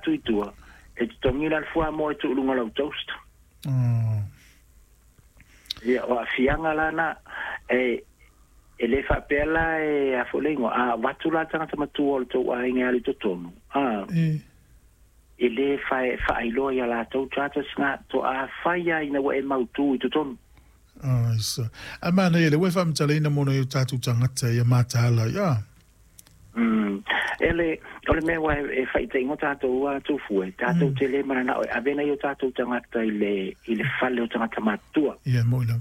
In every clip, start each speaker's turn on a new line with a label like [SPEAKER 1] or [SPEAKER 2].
[SPEAKER 1] atu i tua, e totogi la le fuamoa e tuu i luga o lau toast. Ia, o aafiaga la na, e, e le faapea la e a foi le igoa, a avatu la le tagata matua o le tou aiga e alu i totonu, a, e lē faailoa iā latou charges na, toa fai lava ina ua e mautū i totonu.
[SPEAKER 2] Aisa. Ae manaia lea ua e faamatalaina mo nai o tatou tagata ia mataala ai, a.
[SPEAKER 1] E le, o le mea ua e faitaingo tatou a tufue, tatou te le mananao e ave nai o tatou tagata i le, i le fale o tagata matutua.
[SPEAKER 2] Ia, moi lava.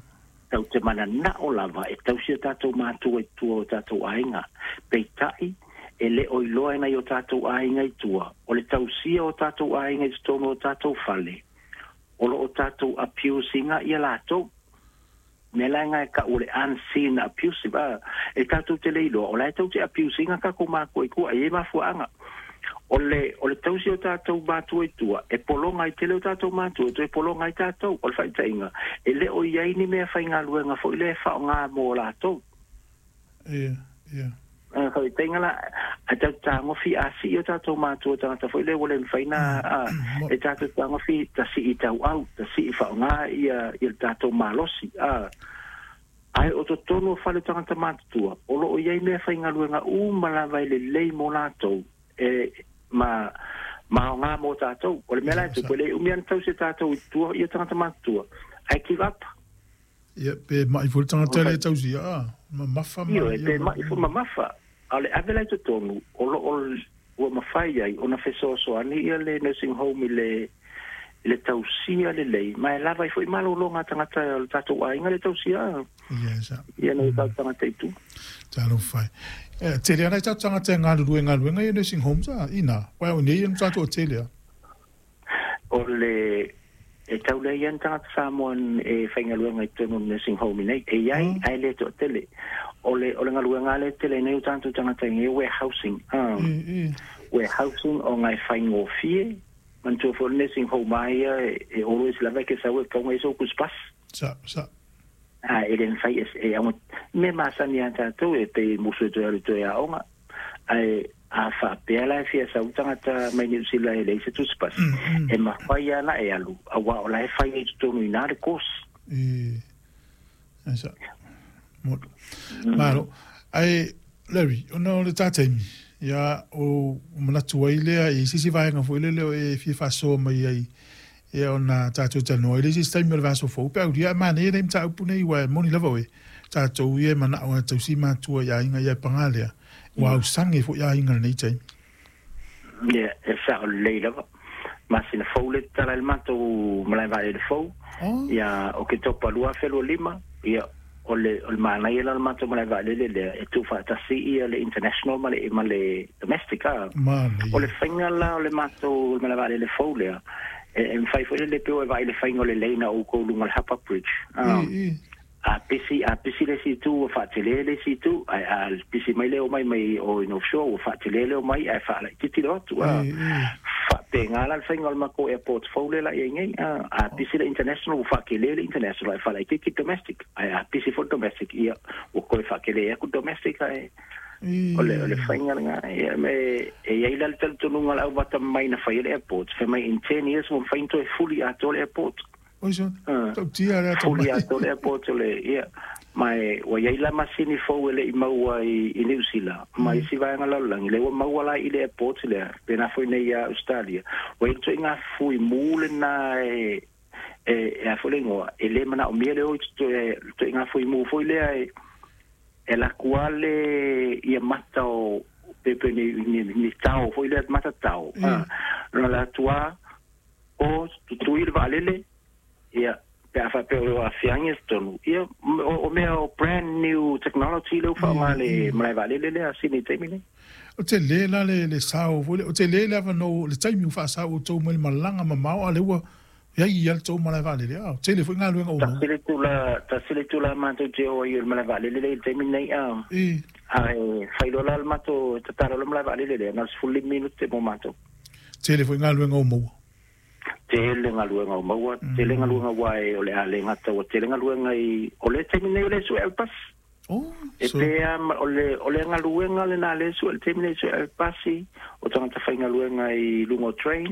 [SPEAKER 1] Tau te mananao lava e tausi o tatou matua i tua o tatou aiga. Peitai, e le o iloa e nai o tatou aiga i tua, o le tausia o tatou aiga i totonu o tatou fale, o lo o tatou abuse ina ia latou. Mea la e ka'u o le unseen abusive, a, e tatou te le iloa, o la e tou te abuse ina tatou matua i tua, e i ai mafuaaga. O le tausi o tatou matua i tua, e pologa ai tele o tatou matua, e toe pologa ai tatou. O le faitaʻiga, e le o i ai ni mea faigaluega foi lea e faaaoga mo latou.
[SPEAKER 2] Ia, ia.
[SPEAKER 1] Faitaʻiga la, ae tatou tagofi a sii o tatou matua tagata foi lea ua le mafai na, a, e tatou tagofi ta sii tauau, ta sii faaaoga ia, ia le tatou malosi, a. Ae o totonu o fale o tagata matutua, o lo o i ai mea faigaluega uma lava e lelei mo latou, e ma ma aoga mo tatou. O le mea la e tupu, e le umi lava ona tausi e tatou i tua ia tagata matutua, ae give up.
[SPEAKER 2] Ia, pe mai foi le tagata lea e tausia, a, mamafa ma
[SPEAKER 1] Ioe, pe mai foi mamafa. A o le ave la i totonu, o lo o ua mafai ai ona fesoasoani ia le nursing home i le i le tausia lelei, ma e lava ai foi malologa a tagata o le tatou aiga le tausia.
[SPEAKER 2] Yes.
[SPEAKER 1] Ia nei tatou tagata i tua.
[SPEAKER 2] Talofa e. Eh, tele ana i tatou tagata e galulue i galuega ia nursing homes a, ina, wai o nei ia tatou o tele a.
[SPEAKER 1] O le e tau leai lava ni tagata Samoa e faigaluega i totonu o le nursing home i nei. E i ai, ae le toatele. O le, o le galuega lea e tele ai nei o tatou tagata i nei, warehousing. Warehousing ona e faigofie, manatua foi o le nursing home lava ia e always lava e ke sau e tatau ona i ai sou tusipasi.
[SPEAKER 2] Sa, sa.
[SPEAKER 1] A e le mafai e, e auga, mea masani lava a tatou e pei e musu e toe alu e toe aoga. Ae a faapea la e fia sau le tagata mai Niu Sila e leai se tusipasi, e mafai lava ona e alu, aua o la e fai ai i totonu i ina le course.
[SPEAKER 2] E, e sa, mo, malo. Ae, Larry, ona o le tā taimi, ia, o manatu ai lea i se isi vaega foi lele o e fia faasoa mai ai, ia ona tatou talanoa ai lea i se isi taimi o le vaiaso fou, pe aulia ae manaia lenei mataupu nei, aua e moni lava oe, tatou ia e manao e tausi matua i aiga ia e paga lea, ua ausage foi aiga i lenei taimi.
[SPEAKER 1] Ia, e sao lelei lava. Masina fou le tatala ai le matou malae vaalele fou, ia Oketopa 2025, ia, o le, o le manaia la o le matou malae vaalele lea, e tuufaatasi ia le international ma le, ma le domestic, a.
[SPEAKER 2] Manaia.
[SPEAKER 1] O le faiga la o le matou malae vaalele fou lea, e, e mafai foi lele pei ua e vaai i le faiga o le lane a outou i luga o le Harbour Bridge, a. A pisi, a pisi le isi itu ua faatele le isi itu, ae a pisi mai le omai mai o i North Shore ua faatele le omai ae faalaitiiti le o atu. A faapena la le faiga o le matou airport fou lea la i ai nei. A, a pisi le international ua faatele le international ae faalaitiiti domestic. Ae a pisi foi le domestic, ia ua toe faatele atu domestic ae o le faiga lena. Ia me e i ai la le talitonuga o le au atamamai na faia le airport, fai mai in 10 years ua mafai ona toe fuli atoa le airport.
[SPEAKER 2] Oi so, tautia le atamai.
[SPEAKER 1] Fuli atoa le airport o le, ia. Ma e, ua i ai la masini fou e le i maua i, i Niu Sila, ma isi vaega lalolagi, lea ua maua la i le airport lea, pēnā foi nei ia Ausetalia. Ua i ai le ituaiga fuimu lena e, e, e a foi le igoa, e le manaomia le o i le ituaiga fuimu foi lea e, e alu atu lava le, ia mata o, pe, pe ni, ni, ni tao foi lea, mata tao. Na alu atu lava, O tutui le vaalele, ia, pe a faapea o aafiaga i totonu, ia, o mea o brand new technology lea ua faaaoga e le malae vaalele lea a Sydney i le taimi lenei.
[SPEAKER 2] O tele la le sao foi lea, o tele le avanoa, le taimi ua faasao outou mai le malaga mamao, a o lea ua i ai lava le tou malae vaalele, a o tele foi galuega o maua.
[SPEAKER 1] Tasi le itula, tasi le itula matou te o ai i le malae vaalele lea i le taimi lenei, a, ae fai loa la le matou, tatalo le malae vaalele lea, na o le 15 minute mo matou.
[SPEAKER 2] Tele foi galuega o maua.
[SPEAKER 1] Tele galuega o maua, tele galuega aua e o le a le gata ua tele galuega i, o le taimi nei o lea e sue ai le pasi.
[SPEAKER 2] Oh,
[SPEAKER 1] E
[SPEAKER 2] so.
[SPEAKER 1] pē a o le, o le galuega lena lea e sue i le taimi nei e sue ai le pasi, o tagata faigaluega i luga o trains.